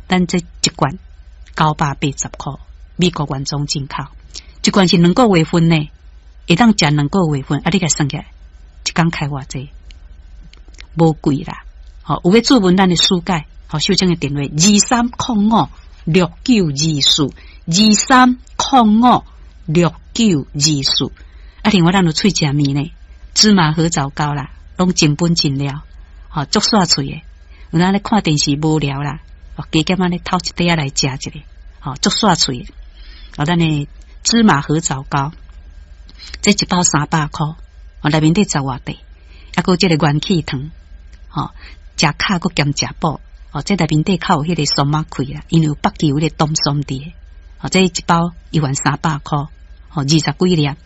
咱這一罐980箍，美國原裝進口，一罐是兩個月份呢，會當食兩個月份，啊，你共算起來，一工開偌濟，無貴啦。吼，有欲諮問咱的書介，吼，秀清的電話23056924，23056924。啊，另外咱有喙食麵呢，芝麻核棗糕啦，攏正本真料，吼，足煞喙的。有當咧看電視無聊啦，哦，加減按呢偷一塊仔來食一下，吼，足煞喙的。哦，咱的芝麻核棗糕，這一包300箍，哦，內面底十外塊，啊，閣有這個元氣糖，吼，食巧閣兼食補，哦，這內面底較有彼個松仔塊啦，因為有北極有彼個冬筍佇，哦，這一包一元300箍，吼，20幾粒，啊，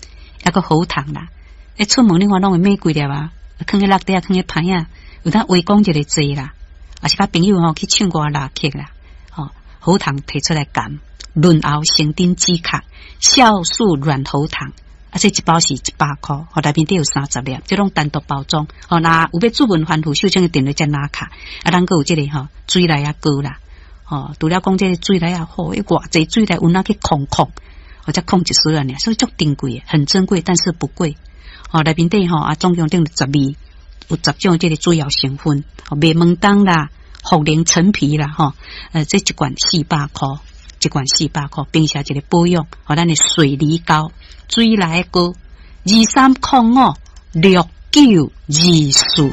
閣喉糖啦，欸，出門你看攏會買幾粒啊，囥佇落底啊，囥佇歹仔，有當話講一个濟啦，啊是佮朋友吼去唱歌拉客啦，吼，喉糖提出來含，潤喉生津止渴，酵素軟喉糖，啊，這一包是100箍，吼，內面底有30粒，這攏單獨包裝，吼，若有欲諮問番婦秀清的電話才拿卡，啊，咱閣有這個吼水梨仔糕啦，吼，除了講這個水梨仔好，欸，偌濟水梨有哪去空空，或者空一絲爾，所以足珍貴，很珍貴，但是不貴，吼，內面底吼啊，總共頂12有10種這個主要成分，麥門冬啦、茯苓陳皮啦，吼，這一罐400箍，一罐四百箍，平時一個保養，予咱的水梨糕、水梨糕，23056924。